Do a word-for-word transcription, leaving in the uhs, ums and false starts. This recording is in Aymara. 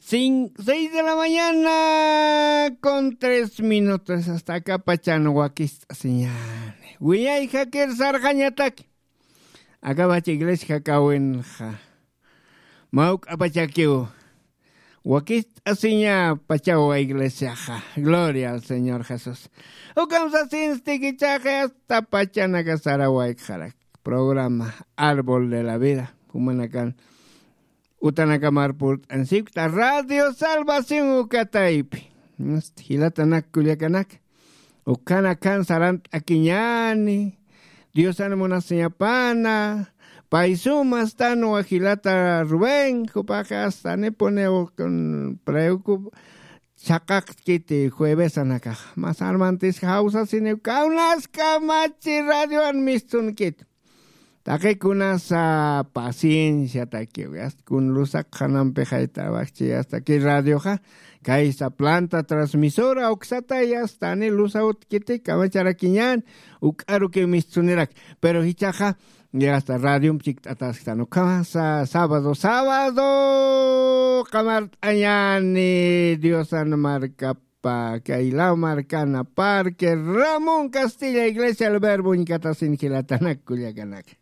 Cin- seis de la mañana con tres minutos, hasta acá pachan wakist'asiñani. Wiñay jakir sarqañataki. Akapacha iglesia jakawinxa. Mawk'apachakiw. Wakist'asiña pachawa iglesiaxa. Gloria al Señor Jesús. Ukamsasinsti kichaqa hasta pachanaka sarawaykxarak. Programa Árbol de la Vida. Jumanakan utanakamar purt'ansikta Radio Salvación ukataypi. Jilatanaka kullakanaka, ukhanakan sarant'akiñani. Diosan munasiñapana. Pay sumastanwa jilata Rubén, jupaqa astanipuniw preocup chhaqaqtkiti juevesanakax. Mas armantis jawsasiniw kawnaskamachi radioan mistunkit. Taqikunasa pacienciatakiw, asta kun lusaq qhanampi jaytawakchi asta ki radioxa, kaysa planta transmisora uksatay astani lusawtkiti kamacharakiñan. Uk'arukiw mistunirak. Pero jichaxa asta radiompi chikt'atasktan ukhamasa sábado sábado qamart'añani diosan markap pa kay law markana parque Ramón Castilla, iglesia El Verbo uñkatasin jilatanak kullakanaka.